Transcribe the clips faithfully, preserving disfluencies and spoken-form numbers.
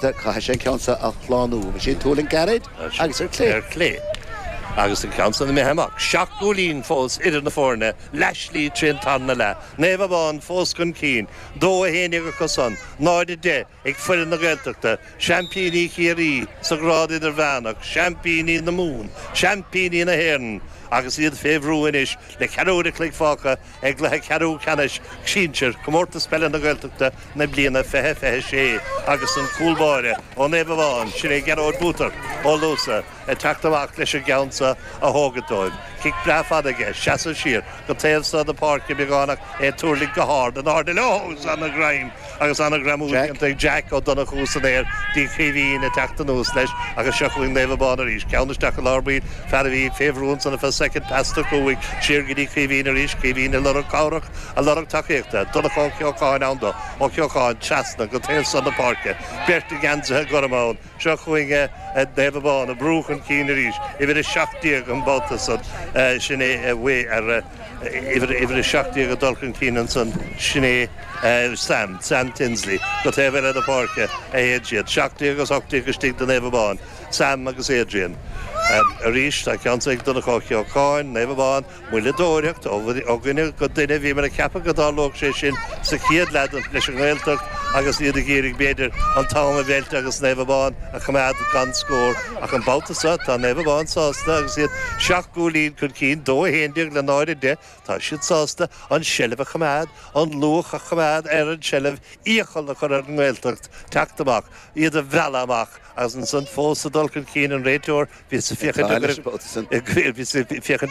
Gaeltachta, caithfidh sé an ceann seo a shlánú. Bhí sé ag tuairlingt gairid agus ar clé. Ar clé. Agus an ceann san imithe amach. Seacht gcúilín fós idir na foirne, leathshlí trín tarna leath. Naomh Abán fós chun cinn, dó a haon déag acusan, náid a deich ag foireann na Gaeltachta, seaimpíní Chiarraí sa ghrád idirmheánach, seaimpíní na Mumhan, seaimpíní na hÉireann, agus iad fé bhrú anois le ceathrú uair a chloig fágtha i gcluiche ceathrú ceannais sinsir Chomórtas Peile na Gaeltachta na bliana fiche fiche sé agus an cúl báire ó Naomh Abán, sin é Gearóid Bútar ó Luasa, ag teacht amach leis an gceann seo a thógaint dóibh. Cic breá fada aige, seasamh siar go taobh seo na páirce beagán ach é ag tuirlingt go hard in airde leo agus ana-ghreim agus ana-ghreamú déanta ag Jack Ó Donnchú san aer dtí Caoimhín ag teacht anuas leis agus seo chugainn Naomh Abán arís. Ceann isteach i lár baill, fear a bhí fé bhrú ansan ar feadh soicind, pas tugtha uaidh siar go dtí Caoimhín arís, Caoimhín ag lorg cabhrach, ag lorg tacaíochta. Donncha Ó Ceocháin ann dó, Ó Ceocháin trasna go taobh seo na páirce, beirt i ngeansaithe gorma ann. Seo chugainn Naomh Abán ag brú chun cinn arís, uimhir a seacht déag an babhta san, sin é ar uimhir a seacht déag ag dul chun cinn ansan, sin é Sam, Sam Tinsley, go taobh eile na páirce a théann siad, seacht déag agus ocht déag istigh do Naomh Abán, Sam agus Adrian. Arís tá ceann ag Donncha Ó Ceocháin, Naomh Abán, Moilleadóireacht ó dhuine go duine. Bhíomar ag ceapadh go dtarlódh sé sin sa chéad leath leis an nGaeltacht agus iad ag iarraidh, b'fhéidir, an t-am a mheilt agus Naomh Abán a choimeád gan scór. Ach an babhta seo, tá Naomh Abán sásta agus iad seacht gcúilín chun cinn, dó a haon déag le náid a deich. Tá siad sásta an tseilbh a choimeád, an luach a choimeád ar an tseilbh, iachall a chur ar an nGaeltacht teacht amach, iad a mhealladh amach agus ansan fós ag dul chun cinn an réiteoir. Bhíos ag féachaint an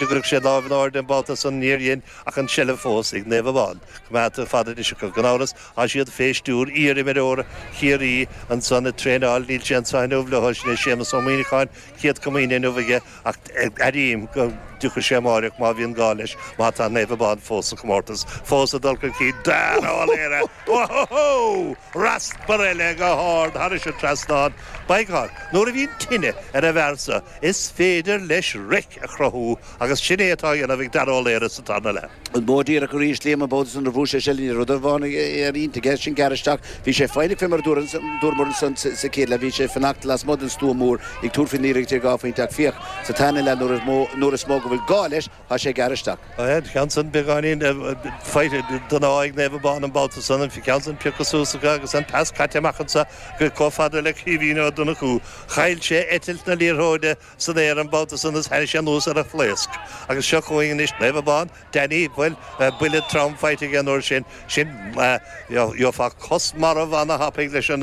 gcuirfeadh sé lámh in airde an babhta san, níor dhein, ach an tseilbh fós ag Naomh Abán. Coimeádta fada anois acu. Gan amhras, tá siad fé stiúir iar-imreoir Chiarraí ansan ag traenáil, níl sé anso inniu leo, sin é Séamus Ó Muíneacháin, Céad Comaoine inniu aige, ach airím go dtiocfaidh sé amáireach má bhíonn gá leis, má tá Naomh Abán fós sa chomórtas, fós ag dul chun cinn. Dara Ó Laoire! Ohóhó! Raspar eile go hard thairis an trasnán. By God, nuair a bhíonn tine ar an bhfear so, is féidir leis raic a chruthú agus sin é atá á dhéanamh ag Dara Ó Laoire sa tarna leath. An modh díreach arís, Liam, an babhta san nuair a bhuaigh sé seilbh ní raibh rud amháin ar intinn aige, sin gearradh isteach. Bhí sé foighneach fé mar a dúramar ansan sa chéad leath, bhí sé ag fanacht lasmuigh den stua mór ag tabhairt faoin liathróid ar dhá phointe ach féach sa tarna leath nuair is mó nuair is mó go bhfuil gá leis, tá sé ag gearradh isteach. An ceann san beagáinín faighte den ádh ag Naomh Abán an babhta san, an ceann san pioctha suas acu agus an pas caite amach anso go chomh fada le Caoimhín Ó Donnchú. Chaill sé eitilt na liathróide san aer an babhta san is tháinig sé anuas ar a phlaosc. Agus seo chugainn anois Naomh Abán, Danny, bhuel, buille trom faighte aige an uair sin. Sin, gheofá cos marbh ana-thapaidh leis an,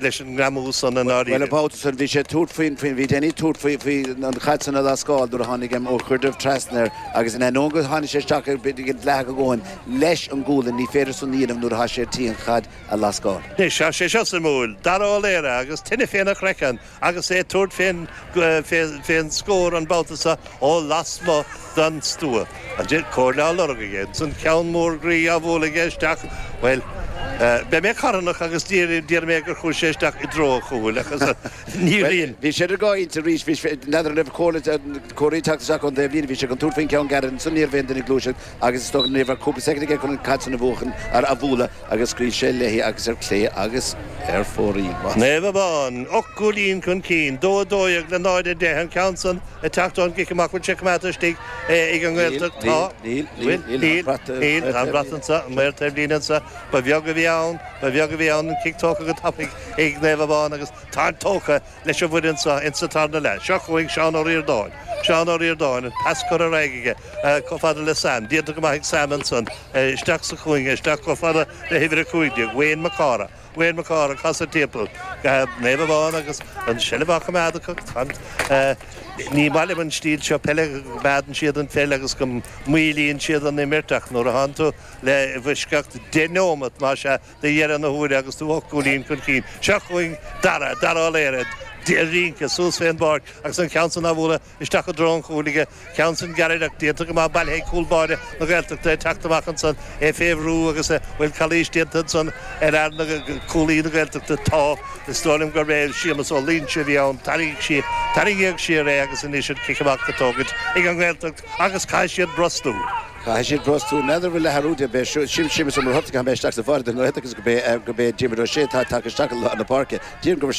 leis an ngreamú san i ndáiríre. Bhuel, an babhta san, bhí sé ag tabhairt faoin, faoin, bhí Danny ag tabhairt faoi, faoi an chaid san a lascáil nuair a tháinig Ó Cuirreamh trasna air agus in ainneoin go tháinig sé isteach ar dleathach a dhóthain leis an gualainn, ní féidir san a dhéanamh nuair atá sé ar tí an chaid a lascáil. Anois, tá sé seo suimiúil. Dara Ó Laoire agus tine féna chraiceann agus é ag tabhairt fén, fén scór an babhta seo ó lasmuigh den stua. An comhairle á lorg aige. Ansan ceann mór groí á bhualadh aige isteach. Bhuel, beidh mé carthanach agus déarfaidh mé gur chuaigh sé isteach i dtreo an chúil ach níor dhein. Bhí sé idir dhá intinn arís. Bhí sé, n'fheadar an raibh comhairle, comhairle ag teacht isteach ón dtaobh líne. Bhí sé chun tabhairt faoin gceann gairid ansan ní raibh aon duine ag gluaiseacht agus is dócha ní raibh ach cúpla soicind aige chun an chaid san a bhuachan, a bhualadh agus scaoil sé léi agus ar clé agus ar fóraoil. Naomh Abán, ocht gcúilín chun cinn, dó a dó dhéag le náid a deich, an ceann san ag teacht ón gcic amach, bhfuil sé coimeádta istigh ag an nGaeltacht? Tá. Níl, níl, níl, níl, níl, tá an brat anso, an maor taobhlíne anso, ba bheag a bhí ann, ba bheag a bhí ann, an cic tógtha go tapaidh ag Naomh Abán agus táid tógtha leis an bhfoireann seo insa tarna leath. Seo chugainn Seán Ó Ríordáin, Seán Ó Ríordáin, an pas curtha ar aghaidh aige chomh fada le Sam, déanta go maith ag Sam ansan, isteach sa chúinne, isteach chomh fada le huimhir a cúig déag, Wayne Mac Cártha. Wayne Mac Cártha ag casadh timpeall. Naomh Abán agus an tseilbh á choimeád acu. Ní maith liom an stíl seo peile, go gcoimeádann siad an pheil agus go moillíonn siad an imirt ach nuair a thánn tú le i bhfoisceacht deich neomat, más ea, de dheireadh na huaire agus tú ocht gcúilín chun cinn. Seo chugainn Dara, Dara Ó Laoire, ag rince suas fén bpáirc agus an ceann san á bhualadh isteach i dtreo an chúil aige. Ceann san gairid ach déanta go maith bailithe ag cúl báire na Gaeltachta ag teacht amach ansan, é fé bhrú agus an bhfuil calaois déanta ansan ar fhear na, cúlaí na Gaeltachta. Tá. Is dóigh liom gurb é Séamus Ó Loingsigh a bhí ann. Tarraingíodh siar é agus anois an cic amach á tógaint ag an nGaeltacht agus caithfidh siad brostú. Caithfidh siad brostú. N'fheadar an bhfuil athrú de b'é Séamus Ó Muircheartaigh a tháinig isteach sa bháire don nGaeltacht agus gurb é gurb é Diarmuid Ó Sé atá tagtha isteach i lár na páirce. Déarfainn gur sin